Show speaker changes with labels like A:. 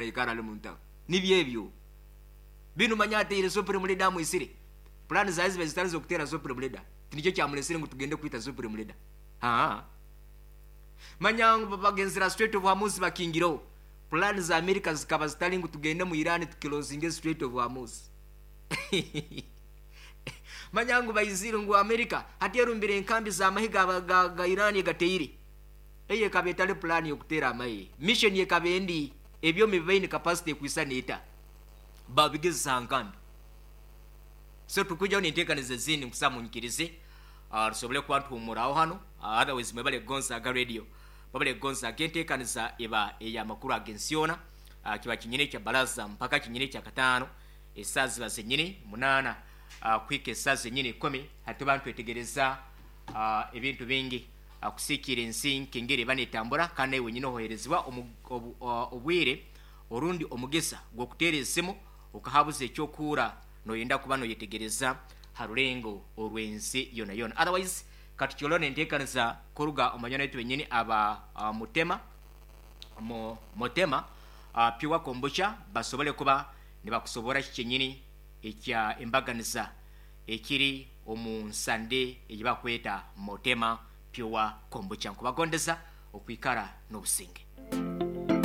A: Taikara ali muntaro. Nibyo ebyo. Binu manya ateire Supreme Leader amwisire. Pulaani zaawe zibaire zitari z'okuteera Supreme Leader. Tinikyo kyamulesire ngu tugende kwita Supreme Leader. Haa. Manya ngu bagenzire aha Strait of Hormuz bakingireho. Pulaani za America zikaba zitari ngu tugende mu Iran tukilozinge Strait of Hormuz. Manya ngu baizire ngu America hati erumbire enkambi z'amahe ga, ga, ga Iran egateire. Eyo ekaba etari pulaani y'okuteera amahe. Mission ekaba endi, ebyoma ebi baine capacity ekwisana eta? Babigezesa aha nkambi. So tukwijaho n'enteekaniza ezindi nkusaba munyikirize tusobole kuba nituhumuraho hanu otherwise mwebale kugonza aga radio. Mwebale kugonza aga enteekaniza eba ey'amakuru ag'ensi yoona. Kiba kinyine ekya baraza mpaka kinyine ekya kataano esaaha ziba zenyini munaana kuhika esaaha zenyini ikumi. Hati tuba nitwetegereza ebintu bingi kusiikiira ensi nk'engeri eba netambura kandi naiwe wenyini ohoherezibwa obwire orundi omugisa gw'okuteera esimu okahabuza eky'okuhurra noyenda kuba noyetegereza ha rurengo orw'ensi yona yona. Otherwise katukyolore n'enteekaniza kuruga omu banywani baitu benyini aba Mutema Motema Pure Kombucha basobole kuba nibakusoborra ki kyenyini ekya embaganiza ekiri omu nsande ei bakweta Motema Pure Kombucha. Nkubagondeza okwikara n'obusinge.